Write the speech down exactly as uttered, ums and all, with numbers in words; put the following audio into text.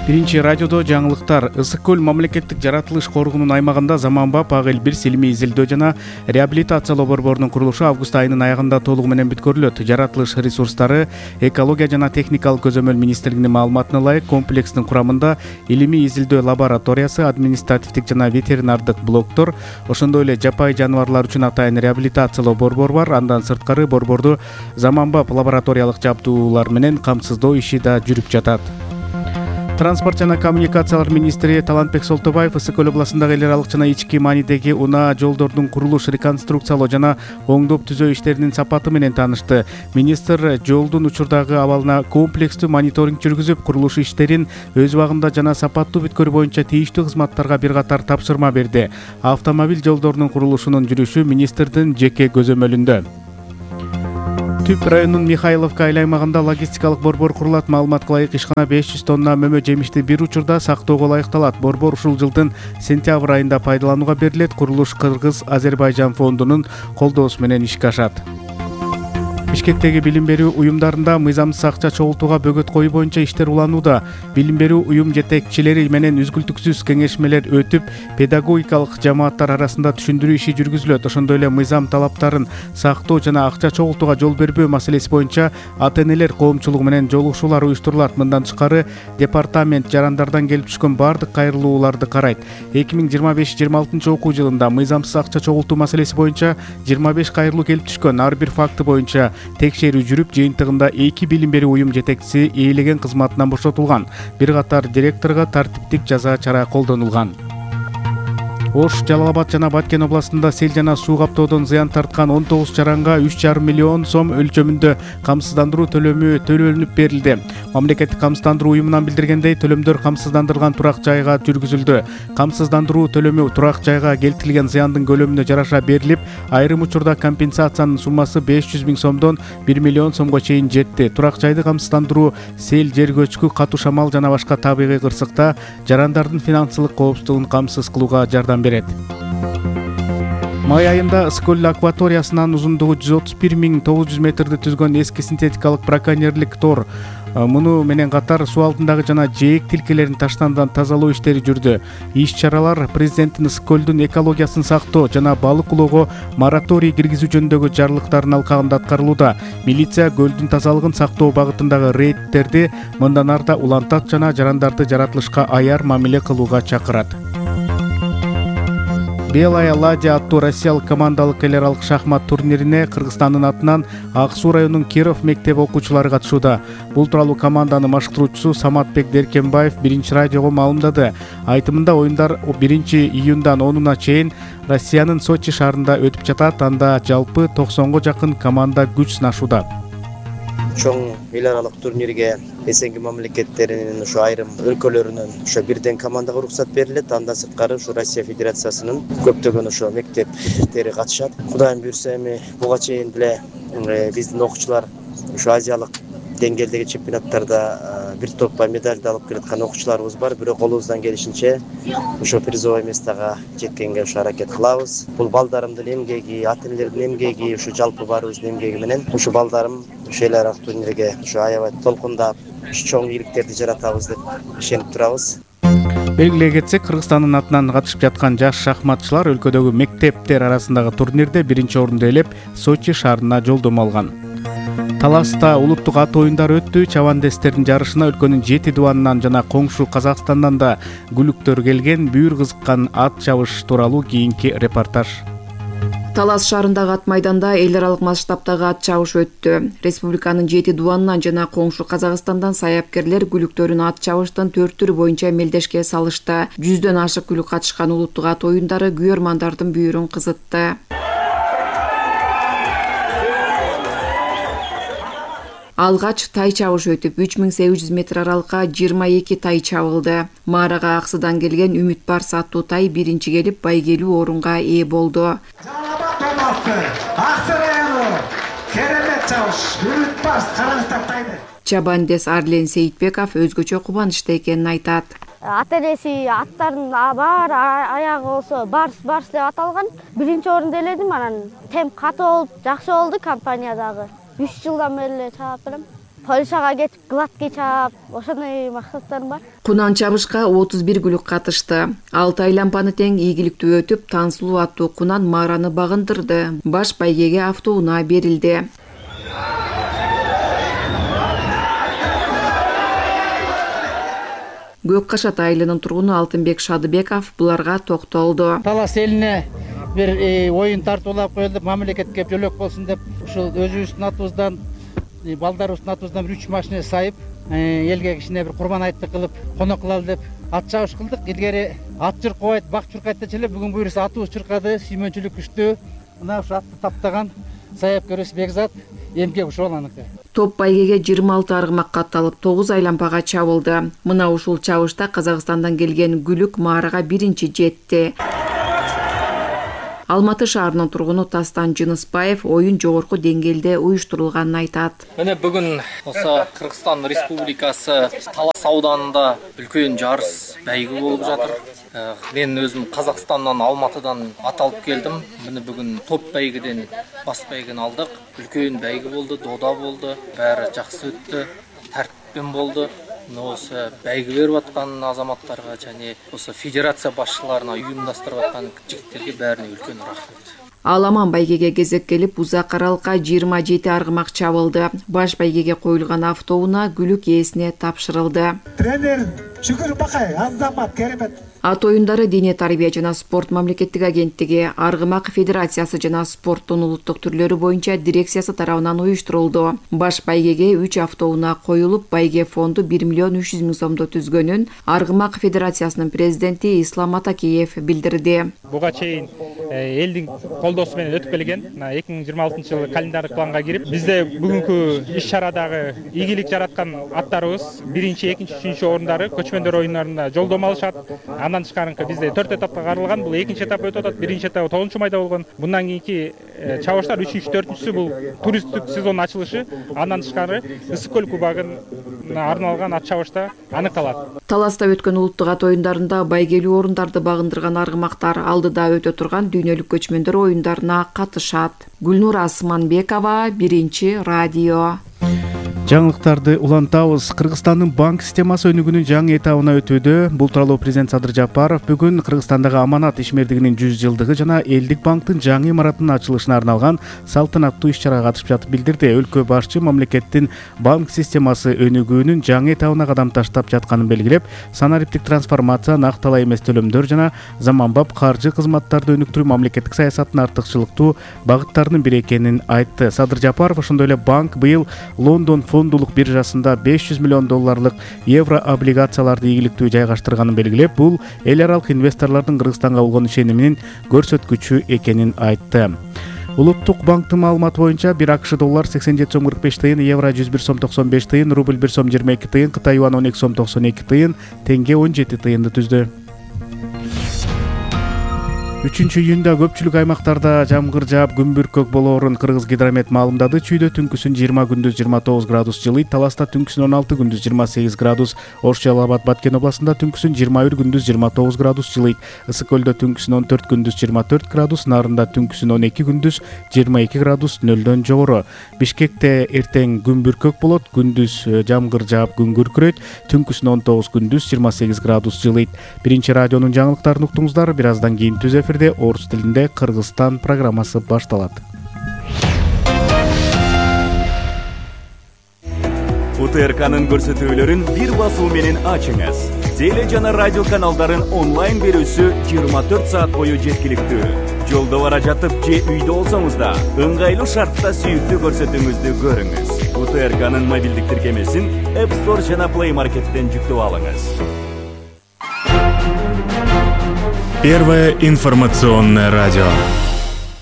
Биринчи радиодо жаңылыктар. Ысык көл мамлекеттик жаратылыш коргоонун аймагында заманбап ак элбир илимий изилдөө жана реабилитациялоо борборунун курулушу август айынын аягында толугу менен бүткөрүлөт. Жаратылыш ресурстары, экология жана техникалык көзөмөл министрлигинин маалыматына ылайык комплекстин курамында илимий изилдөө лабораториясы, административдик жана ветеринардык блоктор, ошондой эле жапайы жаныбарлар үчүн атайын реабилитациялоо борбору бар. Андан сырткары борборду заманбап лабораториялык жабдуулар менен камсыздоо иши да жүрүп жатат. Транспорт жана коммуникациялар министри Талантбек Солтобаев Ысык көл областындагы эл аралык жана ички маанидеги унаа жолдордун курулуш, реконструкциялоо жана оңдоп түзөө иштеринин сапаты менен таанышты. Министр жолдун учурдагы абалына комплекстүү мониторинг жүргүзүп, курулуш иштерин өз убагында жана сапаттуу бүткөрүү боюнча тийиштүү кызматтарга бир катар тапшырма берди. Автомобиль жолдорунун курулушунун жүрүшү министрдин жеке көзөмөлүндө. Түп районунун Михайловка айыл аймагында логистикалык борбор курулат. Маалыматка ылайык, ишкана беш жүз тонна мөмө жемишти бир учурда сактоого ылайыкталат. Борбор ушул жылдын сентябрь айында пайдаланууга берилет. Курулуш Кыргыз-Азербайжан фондунун колдоосу менен ишке ашат. Бишкектеги билим берүү уюмдарында мыйзамсыз акча чогултууга бөгөт коюу боюнча иштер уланууда. Билим берүү уюм жетекчилери менен үзгүлтүксүз кеңешмелер өтүп, педагогикалык жамааттар арасында түшүндүрүү иши жүргүзүлөт. Ошондой эле мыйзам талаптарын сактоо жана акча чогултууга жол бербөө маселеси боюнча ата-энелер коомчулугу менен жолугушуулар уюштурулат. Мындан тышкары департамент жарандардан келип түшкөн бардык кайрылууларды карайт. эки миң жыйырма беш жыйырма алтынчы окуу жылында мыйзамсыз акча чогултуу маселеси боюнча жыйырма беш кайрылуу келип түшкөн. Ар бир факты боюнча текшерүү жүрүп, жыйынтыгында эки билим берүү уюм жетекчиси ээлеген кызматынан бошотулган. Бир катар директорго тартиптик жаза чара колдонулган. Ош, Жалал Абад жана Баткен областында сел жана суу каптоодон зыян тарткан он тогуз чаранга үч жарым миллион сом өлчөмүндө камсыздандыруу төлөмү төлөнүп берилди. Мамлекеттик камсыздандыруу уюмунан билдиргендей, төлөмдөр камсыздандырылган турак жайга жүргүзүлдү. Камсыздандыруу төлөмү турак жайга келтирилген зыяндын көлөмүнө жараша берилип, айрым учурда компенсациянын суммасы беш жүз миң сомдон бир миллион сомго чейин жетти. Турак жайды камсыздандыруу сел, жер көчкү, катуу шамал жана башка табигый кырсыкта жарандардын финансылык коопсуздугун камсыз кылууга жардам берет. Май айында Ысык көл акваториясынын узундугу жүз отуз бир миң тогуз жүз метрди түзгөн эски синтетикалык браконьерлик тор, муну менен катар суу алдындагы жана жээк тилкелерин таштандан тазалоо иштери жүрдү. Иш-чаралар президенттин Ысык көлдүн экологиясын сактоо жана балык улоого мораторий киргизүү жөнүндөгү жарлыктардын алкагында аткарылууда. Милиция көлдүн тазалыгын сактоо багытындагы рейдтерди мындан арта улантат жана жарандарды жаратылышка аяр мамиле кылууга чакырат. Белая ладья аттуу россиялык командалык эл аралык шахмат турнирине Кыргызстандын атынан Ак Суу районунун Киров мектеби окуучулары катышууда. Бул тууралуу команданын башкаруучусу Саматбек Деркенбаев биринчи радиого маалымдады. Айтымында, оюндар биринчи июндан онуна чейин Россиянын Сочи шаарында өтүп жатат. Анда жалпы токсонго жакын команда күч сынашууда. Чоң эл аралык турнирге эсенги мамлекеттеринин ушу айрым өлкөлөрүнөн ошо бирден командага уруксат берилет. Андан сырткары ушу Россия Федерациясынын көптөгөн ошо мектептери катышат. Кудайым буйрса, эми буга чейин деле биздин окуучулар ушу азиялык деңгээлдеги чемпионаттарда бир топпа медальды алып келаткан окуучуларыбыз бар. Бирок колубуздан келишинче ошо призовой местага жеткенге ушу аракет кылабыз. Бул балдарымдын эмгеги, ата-энелердин эмгеги, ушу жалпы баарыбыздын эмгеги менен ушу балдарым ушу эл аралык турнирге ушу аябай толкундап чоң ийгиликтерди жаратабыз деп ишенип турабыз. Белгилей кетсек, Кыргызстандын атынан катышып жаткан жаш шахматчылар өлкөдөгү мектептер арасындагы турнирде биринчи орунду ээлеп, Сочи шаарына жолдомо алган. Таласта улуттук ат оюндары өттү. Чабандестердин жарышына өлкөнүн жети дубанынан жана коңшу Казакстандан да күлүктөр келген. Бүйүр кызыккан ат чабыш тууралуу кийинки репортаж. Талас шаарындагы ат майданда эл аралык масштабтагы ат чабыш өттү. Республиканын жети дубанынан жана коңшу Казакстандан саяпкерлер күлүктөрүн ат чабыштын төрт түрү боюнча мелдешке салышты. Жүздөн ашык күлүк катышкан улуттук ат оюндары күйөрмандардын бүйүрүн кызытты. Алгач тай чабыш өтүп, үч миң сегиз жүз метр аралыкка жыйырма эки тай чабылды. Маарага Аксыдан келген Үмүт Барс аттуу тай биринчи келип, байгелүү орунга ээ болду. Чабандес Арлен Сейитбеков өзгөчө кубанычта экенин айтат. Ата-энеси аттардын бар аягы болсо Барс Барс деп аталган. Биринчи орунду ээледим, анан темп катуу болуп, жакшы болду компаниядагы. үч жылдан бери чаап берем. Польшага кетип гладкий чаап, ошондой максаттарым бар. Кунан чабышка отуз бир күлүк катышты. Алты айлампаны тең ийгиликтүү өтүп, Тансулуу аттуу кунан Мараны багындырды. Баш байгеге автоунаа берилди. Көк Кашат айылынын тургуну Алтынбек Шадыбеков буларга токтолду. Талас элине бир оюн тартуулап коюлду, мамлекетке жөлөк болсун деп, ушул өзүбүздүн атыбыздан, балдарыбыздын атыбыздан бир үч машина сайып, элге кичине бир курман айттык кылып, конок кылалы деп ат чабыш кылдык. Илгери ат чуркабайт, бак чуркайт дечеле, бүгүн буюрса атыбыз чуркады, сүймөнчүлүк күчтүү. Мына ушу атты таптаган саяпкерибиз Бекзат эмгек ушул аныкы. Топ байгеге жыйырма алты аргымак катталып, тогуз айлампага чабылды. Мына ушул чабышта Казакстандан келген Гүлүк Маарага биринчи жетти. Алматы шаарынын тургуну Тастан Жыныспаев оюн жогорку деңгээлде уюштурулганын айтат. Міне бүгін осы Кыргызстан Республикасы Талас ауданында үлкен жарыс бәйгі болып жатыр. Мен өзім Қазақстаннан, Алматыдан ат алып келдім. Міне бүгін топ бәйгіден бас бәйгін алдық. Үлкен бәйгі болды, дода болды, бәрі жақсы өтті, тәртіппен болды. Осы бәйгі беріп атқан азаматтарға және осы федерация басшыларына ұйымдастырып атқан жігіттерге бәріне үлкен рахмет. Аламан байгеге кезек келип, узак аралыкка жыйырма жети аргымак чабылды. Баш байгеге коюлган автоунаа Гүлүк ээсине тапшырылды. Тренер Шүкүр Бакай, Азамат керемет. Ат оюндары Дене тарбия жана спорт мамлекеттик агенттиги, Аргымак федерациясы жана спорттун улуттук түрлөрү боюнча дирекциясы тарабынан уюштурулду. Баш байгеге үч автоунаа коюлуп, байге фонду бир миллион үч жүз миң сомдо түзгөнүн Аргымак федерациясынын президенти Ислам Атакеев билдирди. Буга чейин элдин колдоосу менен өтүп келген. эки миң жыйырма алтынчы жылы календардык планга кирип, бизде бүгүнкү иш чарадагы ийгилик жараткан аттарыбыз биринчи, экинчи, үчүнчү орундары көчмөндөр оюндарында жолдомо алышат. Андан тышкарынкы бизде төрт этапка каралган. Бул экинчи этап өтүп атат. Биринчи этап тогузунчу майда болгон. Мындан кийинки чабыштар үчүнчү, төртүнчүсү бул туристтик сезон ачылышы. Андан тышкары Ысык көл кубагына арналган ат чабышта аныкталат. Таласта өткөн улуттук ат оюндарында байгелүү орундарды багындырган аргымактар алдыда өтө турган дүйнөлүк көчмөндөр оюндарына катышат. Гүлнур Асманбекова, Биринчи радио. Жаңылыктарды улантабыз. Кыргызстандын банк системасы өнүгүүнүн жаңы этабына өтүүдө. Бул тууралуу президент Садыр Жапаров бүгүн Кыргызстандагы аманат ишмердигинин жүз жылдыгы жана элдик банктын жаңы имаратынын ачылышына арналган салтанаттуу иш-чарага катышып жатып билдирди. Өлкө башчы мамлекеттин банк системасы өнүгүүнүн жаңы этабына кадам таштап жатканын белгилеп, санариптик трансформация, накталай эмес төлөмдөр жана заманбап каржы кызматтарды өнүктүрүү мамлекеттик саясаттын артыкчылыктуу багыттарынын бири экенин айтты. Садыр Жапаров ошондой эле банк быйыл Лондон фондулук биржасында беш жүз миллион долларлык евро облигацияларды ийгиликтүү жайгаштырганын белгилеп, бул эл аралык инвесторлордун Кыргызстанга болгон ишениминин көрсөткүчү экенин айтты. Улуттук банктын маалыматы боюнча бир АКШ доллар сексен жети сом кырк беш тыйын, евро жүз бир сом токсон беш тыйын, рубль бир сом жыйырма эки тыйын, Кытай юан он эки сом токсон эки тыйын, теңге он жети тыйынды түздү. үчүнчү июнда көпчүлүк аймактарда жамгыр жаап, күн бүркөк болоорун Кыргыз гидромет маалымдады. Чүйдө түнкүсүн жыйырма, күндүз жыйырма тогуз градус жылыйт. Таласта түнкүсүн он алты, күндүз жыйырма сегиз градус. Ош, Жалал Абад, Баткен областында түнкүсүн жыйырма бир, күндүз жыйырма тогуз градус жылыйт. Ысык көлдө түнкүсүн он төрт, күндүз жыйырма төрт градус. Нарында түнкүсүн он эки, күндүз жыйырма эки градус, нөлдөн жогору. Бишкекте эртең күн бүркөк болот, күндүз жамгыр жаап, күн күркүрөйт. Түнкүсүн он тогуз, күндүз жыйырма сегиз градус жылыйт. Биринчи радионун жаңылыктарын уктуңуздар. Бир аздан кийин түз эфирде орус тилинде Кыргызстан программасы башталат. УТРКнын көрсөтүүлөрүн бир басуу менен ачыңыз. Теле жана радио каналдарын онлайн берүүсү жыйырма төрт саат бою жеткиликтүү. Жолдо бара жатып же үйдө болсоңуз да ыңгайлуу шартта сүйүктүү көрсөтүүңүздү көрүңүз. УТРКнын мобилдик тиркемесин App Store жана Play Market'тен жүктөп алыңыз. Первое информационное радио.